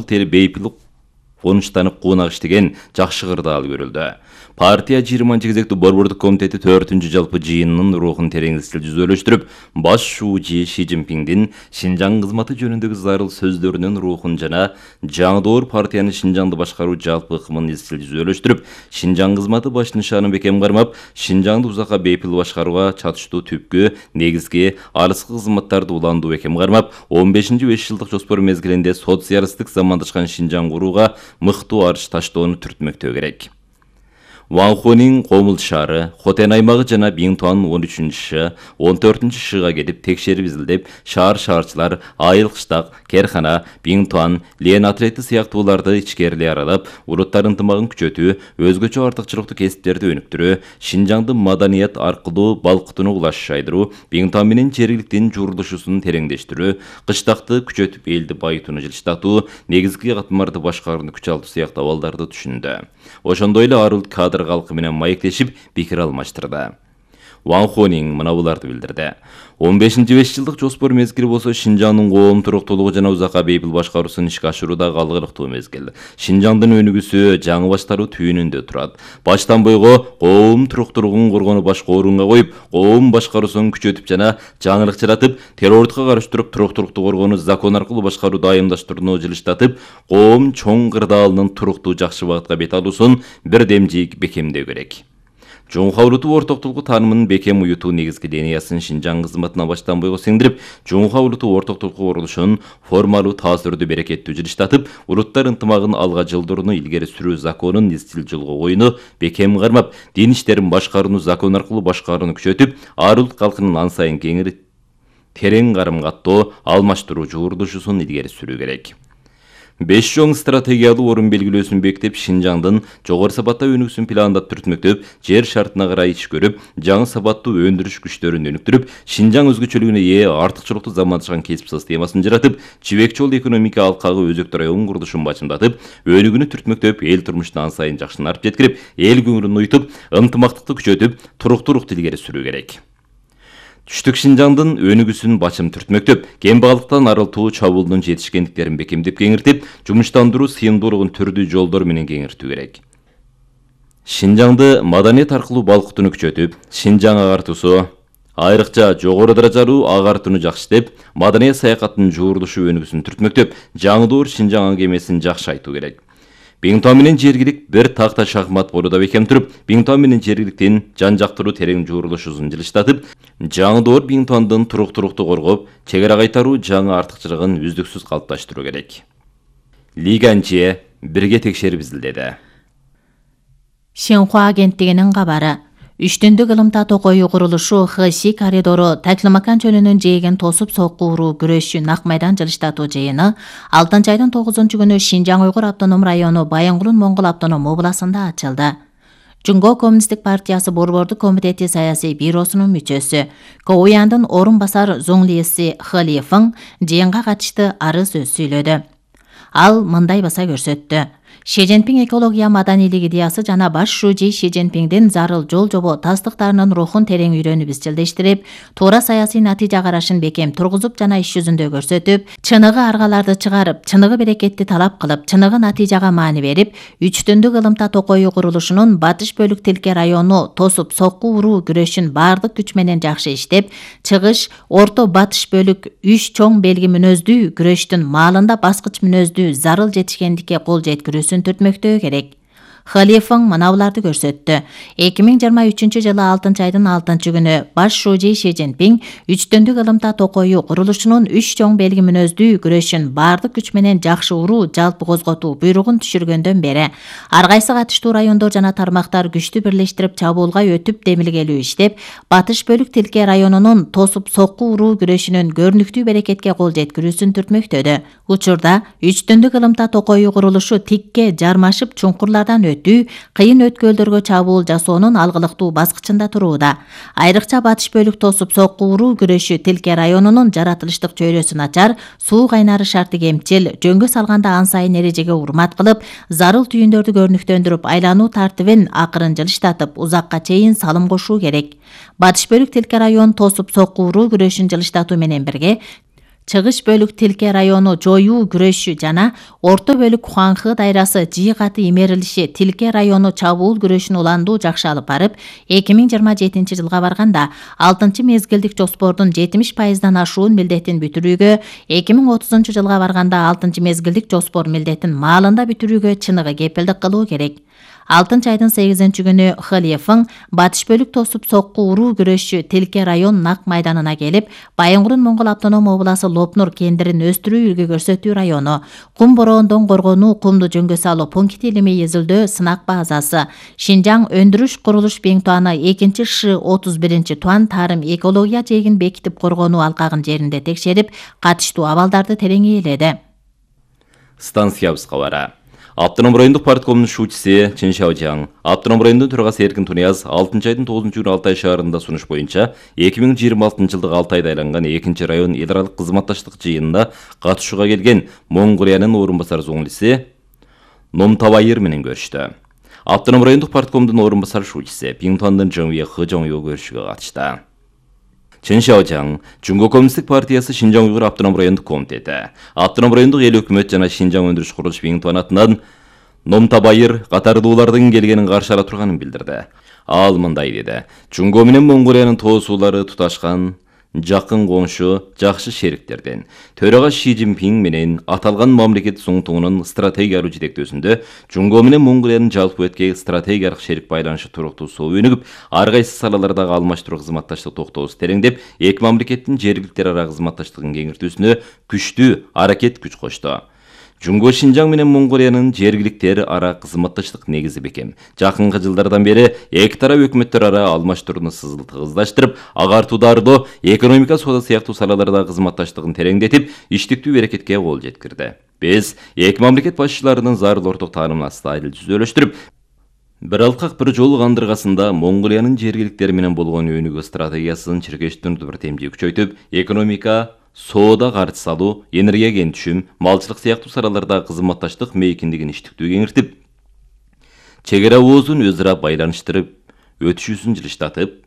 тери бейпил конуштанып куунак иштеген жакшы кырдаал көрүлдү. Партия 20 кезектүү борбордук комитети 4-үнчү жалпы жыйынынын рухун терең изчил жүзөлөштүрүп, баш шууji Ши Цзиньпиңдин Шинжаң кызматы жөнүндөгү зарыл сөздөрүнүн рухун жана жаңдоор партиянын Шинжаңды башкаруу жалпы ыкмын изчил жүзөлөштүрүп, Шинжаң кызматы баш нышанын бекем кармап, Шинжаңды узакка бейпил башкарууга чатыштуу түпкү, негизги, алыскы кызматтарды уландуу бекем кармап, 15-5 жылдык жоспор мезгилинде социалисттик замандашкан Шинжаң курууга мыктуу арыш таштоону түртмөктөө керек. Ванхунин Комул шаары, Хотен аймагы жана Биңтуан 13-шы, 14-шы шыга келип текшерип изилдеп, шаарчылар, айыл кыштак, керкана, Биңтуан, Лен отрети сыяктууларды ичкерилей аралап, улуттар ынтымагын күчөтүү, өзгөчө артыкчылыктуу кесиптерди өнүктүрүү, Шинжаңды маданият аркылуу балкытууну улашайдыруу, Биңтуан менен жергиликтин журулушусун тереңдештирүү, кыштакты күчөтүп элди байытууну жылыштатуу, негизги катмарды башкарууну күч алуу сыяктуу абалдарды түшүндү. Ошондой эле арыл кадр калкы менен маектешип пикир алмаштырды. Ван Хонин мына буларды билдирди. 15-5 жылдык жоспор мезгили болсо Шинжаңдын коом туруктуулугу жана узакка бейпил башкаруусун ишке ашырууда калгылыктуу мезгил. Шинжаңдын өнүгүүсү жаңы баштаруу түйүнүндө турат. Баштан бойго коом туруктуулугун коргонуу башка орунга коюп, коом башкаруусун күчөтүп жана жаңылык жаратып, террордукка каршы туруп туруктуулукту коргонуу закон аркылуу башкарууду айымдаштырууну жылыштатып, коом чоң кырдаалынын туруктуу жакшы багытка бет алуусун бирдемжик бекемдөө керек. Жумха улуту ортоктулугу таанымынын бекем уютуу негизги линиясын Шинжаң кызматына баштан бойго сиңдирип, Жумха улуту ортоктулугу курулушун формалуу таасирдүү берекеттүү жылыштатып, улуттар ынтымагын алга жылдырууну илгери сүрүү законун изчил жолго коюуну бекем кармап, дин иштерин башкарууну закон аркылуу башкарууну күчөтүп, ар улут калкынын ан сайын кеңири терең карым-каттоо, алмаштыруу журулушусун илгери сүрүү керек. 5 чоң стратегиялуу орун белгилөөсүн бекитип, Шинжаңдын жогору сапатта өнүгүүсүн пландап түртмөктөп, жер шартына карай иш көрүп, жаңы сапаттуу өндүрүш күчтөрүн өнүктүрүп, Шинжаң өзгөчөлүгүнө ээ артыкчылыктуу замандашкан кесип системасын жаратып, чибек жол экономика алкагы өзөктүү район курулушун бачымдатып, өнүгүүнү түртмөктөп, эл турмушун ан сайын жакшынтып жеткирип, эл көңүлүн уютуп, ынтымактыкты күчөтүп, туруктуулукту илгери сүрүү керек. Түштүк Шинжаңдын өнүгүүсүн бачым түртмөктөп, кембагалыктан арылтуу чабуулдун жетишкендиктерин бекемдеп кеңиртип, жумуштандыруу сыйымдуулугун түрдүү жолдор менен кеңиртүү керек. Шинжаңды маданият аркылуу балкытууну күчөтүп, Шинжаң агартуусу, айрыкча жогору даражалуу агартууну жакшыртып, маданият саякаттын жуурулушу өнүгүүсүн түртмөктөп, жаңдоор Шинжаң аңгемесин жакшыртуу керек. Биңтуан менен жергилик бир такта шахмат болууда бекем туруп, Биңтуан менен жергиликтин жан-жактуу терең жуурулушусун жылыштатып, жаңдоор Биңтуандын туруктуулукту коргоп, чегара кайтаруу жаңы артыкчылыгын үздүксүз калыпташтыруу керек. Лиганче бирге текшерип изилдеди. Шинхуа агенттигинин кабары. Үчтүндүк ылымта токою курулушу Хэси коридору Таклимакан чөлүнүн жээген тосуп соккууруу күрөшчү нак майдан жылыштатуу жыйыны 6 айдын 9 күнү Шинжаң Уйгур автоном району Байынгулун Моңгол автоном областында ачылды. Жунго Коммунисттик партиясы борбордук комитети саясий бюросунун мүчөсү, Коуяндын орун басар Зуңлиси Халифың жыйынга катышты арыз сөз сүйлөдү. Ал мындай баса көрсөттү. Ши Цзиньпиң экология маданийлик идеясы жана баш шүүji Ши Цзиньпиңдин зарыл жол жобо тастыктарынын рухун терең үйрөнүп изчилдештирип, туура саясий натыйжа карашын бекем тургузуп жана иш жүзүндө көрсөтүп, чыныгы аргаларды чыгарып, чыныгы берекетти талап кылып, чыныгы натыйжага маани берип, Үчтүндүк ылымта токою курулушунун батыш бөлүк тилке району тосуп сокку уруу күрөшүн бардык күч менен жакшы иштеп, чыгыш орто батыш бөлүк 3 чоң белги мүнөздүү күрөштүн маалында баскыч мүнөздүү зарыл жетишкендикке кол жеткирүүсүн түртмөктөө керек. Халифың мына буларды көрсөттү. 2023 жылы 6 айдын 6 күнү баш шүүji Ши Цзиньпиң Үчтүндүк ылымта токою курулушунун 3 чоң белги мүнөздүү күрөшүн бардык күч менен жакшы уруу жалпы козготуу буйругун түшүргөндөн бери ар кайсы катыштуу райондор жана тармактар күчтү бирлештирип чабуулга өтүп демилгелүү иштеп, батыш бөлүк тилке районунун тосуп сокку уруу күрөшүнүн көрүнүктүү берекетке кол жеткирүүсүн түртмөктөдү. Учурда Үчтүндүк ылымта токою курулушу тикке жармашып чуңкурлардан кыйын өткөлдөргө чабуул жасоонун алгылыктуу баскычында турууда. Айрыкча батыш бөлүк тосуп сокку уруу күрөшү тилке районунун жаратылыштык чөйрөсү начар, суу кайнары шарты кемчил, жөнгө салганда ан сайын эрежеге урмат кылып, зарыл түйүндөрдү көрүнүктөндүрүп, айлануу тартибин акырын жылыштатып, узакка чейин салым кошуу керек. Батыш бөлүк тилке район тосуп сокку уруу күрөшүн жылыштатуу менен бирге Чыгыш бөлүк Тилке району жоюу күрөшү жана орто бөлүк Хуанхы дайрасы жыйгаты имерилиши Тилке району чабуул күрөшүн уландуу жакшы алып барып, 2027-жылга барганда 6-мезгилдик жоспордун 70%дан ашуун милдетин бүтүрүүгө, 2030-жылга барганда 6-мезгилдик жоспор милдетин маалында бүтүрүүгө чыныгы кепилдик кылуу керек. 6-айдын 8-күнү Хылиевиң батыш бөлүк тосуп сокку уруу күрөшчү Тилке район нак майданына келип, Байынгурун Моңгол автоном обласы Лопнур кендирин өстүрүү үлгү көрсөтүү району, кум бороондон коргонуу кумду жөнгө салуу пункти илимий изилдөө сынак базасы, Шинжаң өндүрүш курулуш Беңтуаны 2-Ш-31 Туан тарым экология жээгин бекитип коргонуу алкагын жеринде текшерип, катыштуу абалдарды терең ээледи. Станциябыз кабары. Автоном райондук парткомдун шуучусы Чен Шаожаң, автоном райондун төрагасы Эркин Тунияз 6-айдын 9-күнү Алтай шаарында сунуш боюнча 2026-жылдык Алтайда айланган 2-район эл аралык кызматташтык жыйынына катышууга келген Моңгулиянын орун басар зоңлиси Номтабайыр менен көрүштү. Автоном райондук парткомдун орун басар шуучусы Биңтуандын Жыңвие Хыжоңё көрүшүгө катышты. Чен Шаожаң, Жунго Коммунисттик партиясы Шинжаң Уйгур автоном райондук комитети, автоном райондук эл өкмөт жана Шинжаң өндүрүш курулуш Биңтуан атынан Номтабайыр катардуулардын келгенин каршы ала турганын билдирди. Ал мындай деди: Жунго менен Моңголиянын тоосуулары туташкан, жакын коңшу, жакшы шериктерден. Төрага Ши Цзиньпин менен аталган мамлекет суңтугунун стратегиялык жетектөөсүндө Жунго менен Моңголиянын жалпы өткө стратегиялык шерик байланышы туруктуусу өнүгүп, ар кайсы салалардагы алмаштыруу кызматташтык токтоосу тереңдеп, эки мамлекеттин жергиликтер ара кызматташтыгын кеңейтүүсүнө күчтүү аракет күч кошту. Жунго Шинжаң менен Моңголиянын жергиликтер ара кызматташтык негизи бекем. Жакынкы жылдардан бери эки тарап өкмөттөр ара алмаштырууну тыгыздаштырып, агартуударды, экономика, соода сыяктуу салалардагы кызматташтыгын тереңдетип, иштиктүү аракетке кол жеткирди. Биз эки мамлекет башчыларынын зарыл орток таанымын стадил түзөлөштүрүп, бир алкак бир жол кандыргасында Моңголиянын жергиликтер менен болгон өнүгүү стратегиясын чиркештирүүнү бир темжи күчөйтүп, экономика, соода каржы салуу, энергия кентүшүм, малчылык сыяктуу салалардагы кызматташтык мейкиндигин иштиктүү кеңиртип, чек ара оозун өз ара байланыштырып, өтүшүүсүн жылыштатып,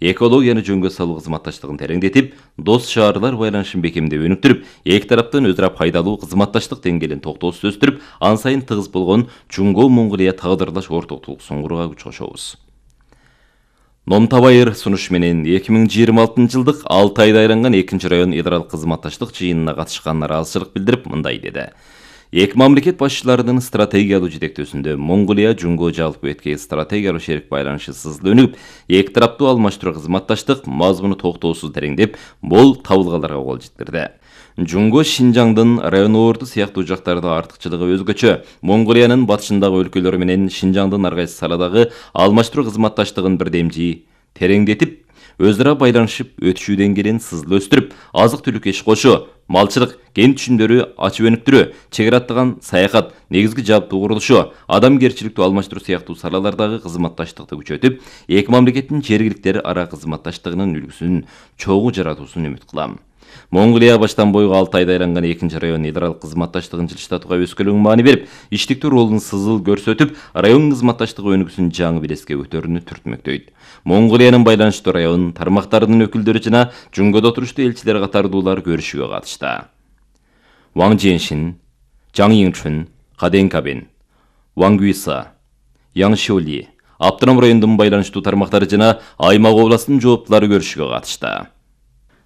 экологияны жөнгө салуу кызматташтыгын тереңдетип, дос шаарлар байланышын бекемдеп өнүктүрүп, эки тараптын өз ара пайдалуу кызматташтык деңгээлин токтоосуз өстүрүп, ан сайын тыгыз болгон Жунго Моңголия тагдырлаш ортоктугун курууга күч кошобуз. Номтабайыр сунуш менен 2026-жылдык Алтайда айланган 2-район эл аралык кызматташтык жыйынына катышканына ыраазычылык билдирип, мындай деди: Эки мамлекет башчыларынын стратегиялык жетектөөсүндө Моңголия Жунго жалпы өткө стратегиялык шерик байланышы сызыл өнүгүп, эки тараптуу алмаштыруу кызматташтык мазмуну токтоосуз тереңдеп, бул табылгаларга кол жеткирди. Жунго Шинжаңдын район орду сыяктуу жактарда артыкчылыгы өзгөчө. Моңголиянын батышындагы өлкөлөр менен Шинжаңдын ар кайсы саладагы алмаштыруу кызматташтыгын бирдемжи тереңдетип, өз ара байланышып, өтүшүү деңгээлин сызыл өстүрүп, азык-түлүк иш кошуу, малчылык, кен түшүмдөрү ачып өнүктүрүү, чек ара аттаган саякат, негизги жабдуу курулушу, адамгерчиликтүү алмаштыруу сыяктуу салалардагы кызматташтыкты күчөтүп, эки мамлекеттин жергиликтер ара кызматташтыгынын үлгүсүн чогуу жаратуусун үмүт кылам. Моңголия баштан бойгу Алтайда айланган 2-район эл аралык кызматташтыгын жылыштатууга өскөлүң маани берип, иштиктүү ролун сызыл көрсөтүп, район кызматташтыгы өнүгүүсүн жаңы белеске көтөрүүнү түртмөктөйт. Моңголиянын байланыштуу район тармактарынын өкүлдөрү жана Жунгодо туруштуу элчилер катардуулар көрүшүгө катышты. Ваң Женшин, Жаң Йиңчүн, Каден Кабен, Ваң Гуиса, Яң Шиоли, автоном райондун байланыштуу тармактары жана аймак областынын жооптулары көрүшүгө катышты.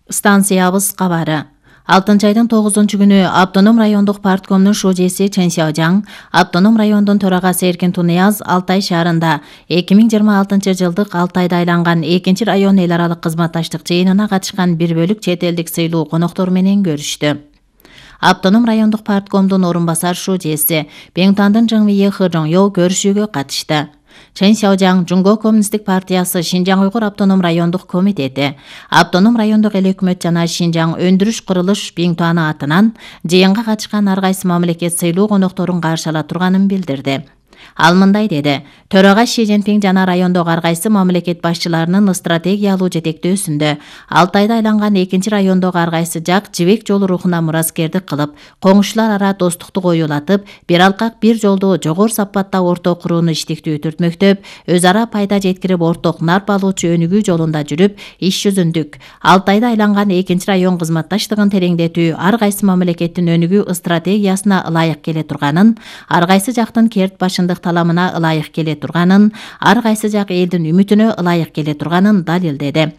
Станциябыз кабары. 6-айдын 9-күнү автоном райондук парткомдун шуучусы Чен Шаожаң, автоном райондун төрагасы Эркин Тунияз Алтай шаарында 2026-жылдык Алтайда айланган 2-район эл аралык кызматташтык жыйынына катышкан бир бөлүк чет элдик сыйлуу коноктор менен көрүштү. Автоном райондук парткомдун орун басар шуучусы Беңтуандын Жыңвие Хыжоңё көрүшүүгө катышты. Чен Шаожаң Жунго Коммунисттик партиясы Шинжаң Уйгур автоном райондук комитети, автоном райондук эл өкмөт жана Шинжаң өндүрүш курулуш Биңтуаны атынан жыйынга катышкан ар кайсы мамлекет сыйлуу конокторун каршы ала турганын билдирди. Ал мындай деди: Төрага Ши Цзиньпин жана райондогу ар кайсы мамлекет башчыларынын стратегиялуу жетектөөсүндө 6 айда айланган экинчи райондогу ар кайсы жак жибек жолу рухуна мураскердик кылып, коңшулар ара достукту коюлатып, бир алкак бир жолду жогору сапатта орток курууну иштиктүү түртмөктөп, өз ара пайда жеткирип орток нарп алуучу өнүгүү жолунда жүрүп, иш жүзүндүк 6 айда айланган экинчи район кызматташтыгын тереңдетүү ар кайсы мамлекеттин өнүгүү стратегиясына ылайык келе турганын, ар кайсы жактын керт башындык таламына ылайык келе турганын, ар кайсы жак элдин үмүтүнө ылайык келе турганын далилдеди.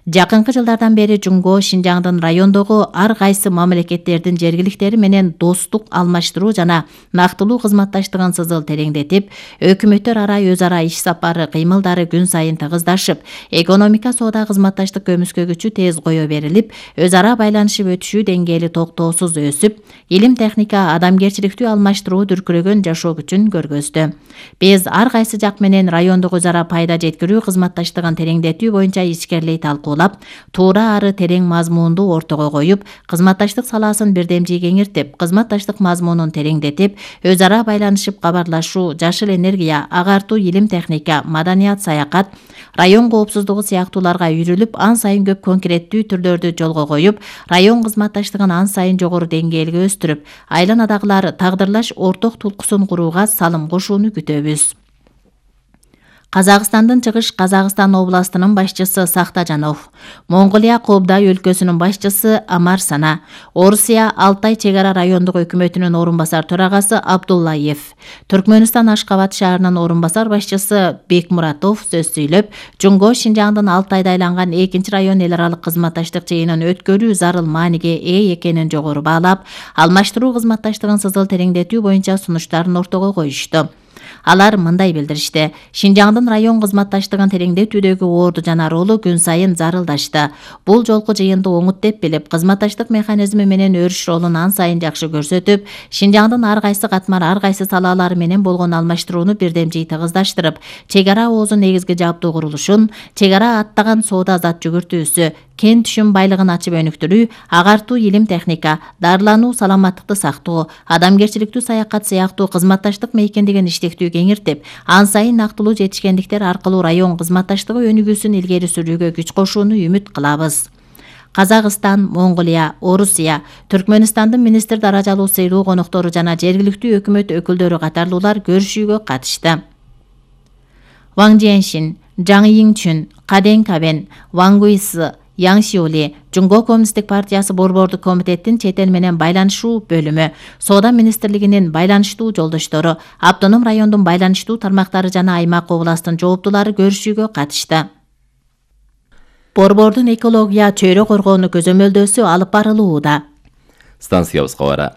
Жакынкы жылдардан бери Жуңго Шинжаңдын райондогу ар кайсы мамлекеттердин жергиликтери менен достук алмаштыруу жана нактылуу кызматташтыгын сызыл тереңдетип, өкмөттөр ара өз ара иш сапары кыймылдары күн сайын тыгыздашып, экономика соода кызматташтык көмүскө күчү тез кое берилип, өз ара байланышып өтүшүү деңгээли токтоосуз өсүп, илим техника, адамгерчиликтүү алмаштыруу дүркүрөгөн жашоо күчүн көргөздү. Биз ар кайсы жак менен райондук өз ара пайда жеткирүү кызматташтыгын тереңдетүү боюнча ичкерлей талкуулап, туура ары терең мазмунду ортого коюп, кызматташтык саласын бирдемжий кеңиртип, кызматташтык мазмунун тереңдетип, өз ара байланышып кабарлашуу, жашыл энергия, агартуу, илим техника, маданият, саякат, район коопсуздугу сыяктууларга үйрүлүп, ан сайын көп конкреттүү түрлөрдү жолго коюп, район кызматташтыгын ан сайын жогору деңгээлге өстүрүп, айланадагылар тагдырлаш орток тулкусын курууга салым кошууну күтөбүз. Казакстандын Чыгыш Казакстан областынын башчысы Сахтажанов, Монголия Кобдай өлкөсүнүн башчысы Амар Сана, Орусия Алтай чек ара райондук өкмөтүнүн орун басар төрагасы Абдуллаев, Түркмөнстан Ашкабад шаарынын орун басар башчысы Бекмуратов сөз сүйлөп, Жуңго Шинжаңдын 6 айда айланган экинчи район эл аралык кызматташтык жыйынын өткөрүү зарыл мааниге ээ экенин жогору баалап, алмаштыруу кызматташтыгын сызыл тереңдетүү боюнча сунуштарын ортого коюшту. Алар мындай билдиришти: Шинжаңдын район кызматташтыгын тереңдетүүдөгү орду жана ролу күн сайын зарылдашты. Бул жолку жыйынды оңут деп билип, кызматташтык механизми менен өрүш ролун ан сайын жакшы көрсөтүп, Шинжаңдын ар кайсы катмар, ар кайсы салалары менен болгон алмаштырууну бирдемжий тыгыздаштырып, чек ара оозун негизги жабдуу курулушун, чек ара аттаган соода зат жүгүртүүсү, кен түшүм байлыгын ачып өнүктүрүү, агартуу, илим техника, дарылануу, саламаттыкты сактоо, адамгерчиликтүү саякат сыяктуу кызматташтык мейкиндигин иштиктүү кеңиртип, ан сайын нактылуу жетишкендиктер аркылуу район кызматташтыгы өнүгүүсүн илгери сүрүүгө күч кошууну үмүт кылабыз. Казакстан, Монголия, Орусия, Түркмөнстандын министр даражалуу сыйлуу коноктору жана жергиликтүү өкмөт өкүлдөрү катарлуулар көрүшүүгө катышты. Ван Жиэншин, Жаң Йиңчүн, Каден Кабен, Ван Гуйсы, Яң Шиоли, Жуңго Коммунисттик партиясы борбордук комитеттин чет эл менен байланышуу бөлүмү, Соода министрлигинин байланыштуу жолдоштору, автоном райондун байланыштуу тармактары жана аймак областтын жооптулары көрүшүүгө катышты. Борбордун экология чөйрө коргоону көзөмөлдөөсү алып барылууда. Станциябызга бара.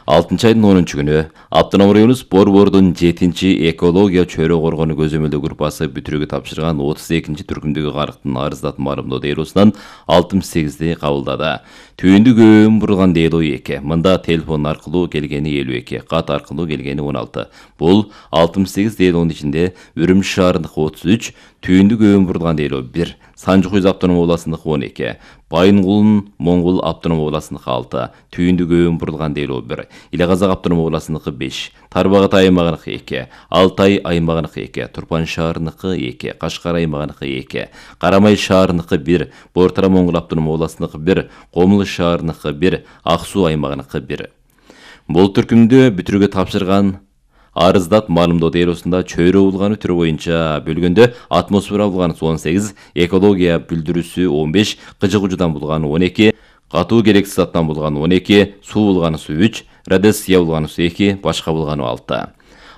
6 айдын 10 күнү Автоном районубуз Борбордун 7-чи экология чөйрө коргоону көзөмөлдөө группасы бүтүрүүгө тапшырган 32-чи түркүмдөгү карыктын арыздат марымдоо делосунан 68 кабылдады. Түйүндү көбүн бурулган дело 2, мында телефон аркылуу келгени 52, кат аркылуу келгени 16. Бул 68 делонун ичинде Үрүмчү шаарындыкы 33, түйүндү көбүн бурулган дело 1, Санжыкөз автоном областындыкы 12, Байынгулун Моңгол автоном областындыкы 6, түйүндү көбүн бурулган дело 1, Иле Казак автоном областындыкы 5, Тарбагат аймагыныкы 2, Алтай аймагыныкы 2, Турпан шаарындыкы 2, Кашкар аймагыныкы 2, Карамай шаарындыкы 1, Бортара Моңгол автоном областындыкы 1, Комулуш шаарындыкы 1, Ак Суу аймагыныкы 1. Бул түркүмдү бүтүрүүгө тапшырган арыздат маалымдоо делосунда чөйрө улганы түрү боюнча бөлгөндө атмосфера улганы 18, экология бүлдүрүүсү 15, кыжык ужудан булганы 12, катуу керексиз заттан булганы 12, суу булганысы 3, радиация булганысы 2, башка булганы 6.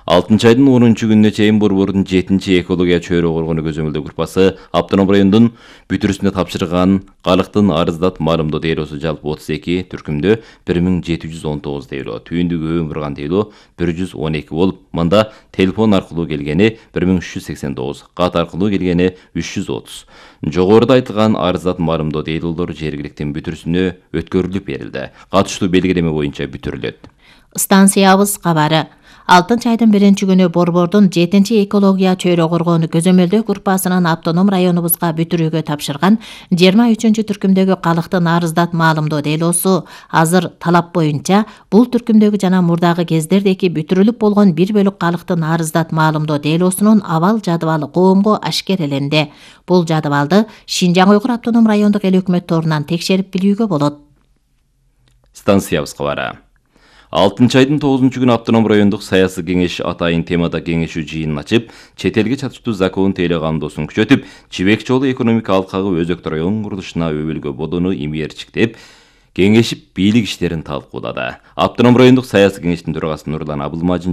6 айдын 10 күнүнө чейин Борбордун 7-чи экология чөйрө коргоону көзөмөлдөө группасы автоном райондун бүтүрүүсүнө тапшырган калктын арыздат маалымдоо делосу жалпы 32, түркүмдө 1719 дело, түйүндү көбүн бурган дело 112 болуп, мында телефон аркылуу келгени 1389, кат аркылуу келгени 330. Жогоруда айтылган арыздат маалымдоо делолор жергиликтин бүтүрүүсүнө өткөрүлүп берилди. Катыштуу белгилеме боюнча бүтүрүлөт. Станциябыз кабары. 6 айдын 1-күнү Борбордун 7-экология чөйрө коргоону көзөмөлдөө группасынын автоном районубузга бүтүрүүгө тапшырган 23-түркүмдөгү калктын арыздат маалымдоо делосу азыр талап боюнча бул түркүмдөгү жана мурдагы кездердеки бүтүрүлүп болгон 1 бөлүк калктын арыздат маалымдоо делосунун абал жадыбалы коомго ашкереленди. Бул жадыбалды Шинжаң Уйгур автоном райондук эл өкмөт торунан текшерип билүүгө болот. Станциябыз кабары. 6 айдын 9-күнү автоном райондук саясий кеңеш атайын темада кеңешүү жыйынын ачып, чет элге чатыштуу закон тейле кандоосун күчөтүп, Жибек жолу экономика алкагы өзөктү район курулушуна өбөлгө бодону имээрчиктеп, кеңешип бийлик иштерин талкуулады. Автоном райондук саясий кеңештин төрагасы Нурлан Абылмажин